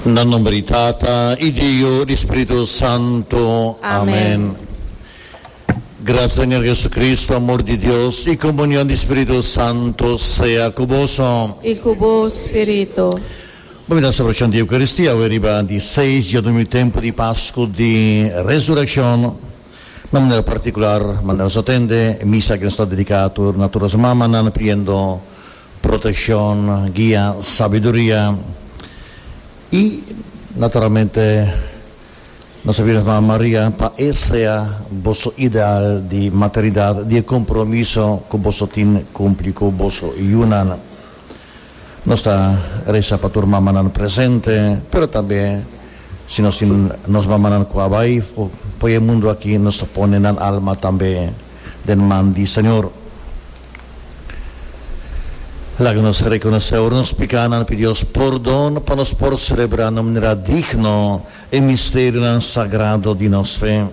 Na nomber di Tata i di Yu i di Spiritu Santu. Amen. Gracia di Señor Jesucristo, amor di Dios i comunion di Spiritu Santu sea cu boso. I cu bo spiritu. Bo mira celebracion di Eucaristia awe riba di seis djadumingu tempu di Pascu di Resureccion. Na manera particular, manera nos a tende, e misa aki nos ta dedica tur na tur nos mamanan pidiendo proteccion, guia, sabiduria y naturalmente nos a pidi nos Mama Maria pa e sea boso ideal di maternidad, di e compromiso cu boso tin cumpli cu boso yunan. Nos ta resa pa tur mamanan presente, pero tambe si nos tin nos mamanan cu a bay fo'i e mundo aki, nos ta pone nan alma tambe den man di Señor. Laga nos reconoce ora nos picanan, pidi Dios pordon pa nos por celebra na manera digno e misterionan sagrado di nos fe.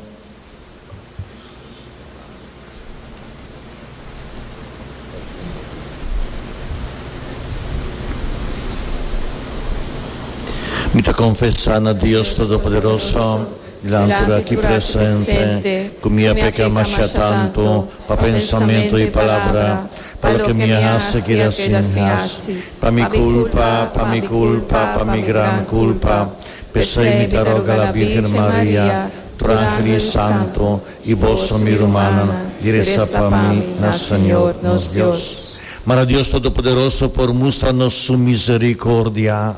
Mi ta konfesá na Dios Todopoderoso, dilanti tur aki presente, ku mi a peka masha tantu pa pensamentu i palabra, pa loke mi a hasi keda sin hasi, pa mi kulpa, pa mi kulpa, pa mi gran kulpa. P'esei mi ta roga la Bírgen Maria, Tur angel i santu, i boso, mi rumannan, di resa pa mi na Señor nos Dios. Mara Dios Todopoderoso por mustra nos su misericordia,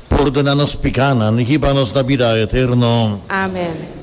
pordona nos picanan i hiba nos na bida eterno. Amen.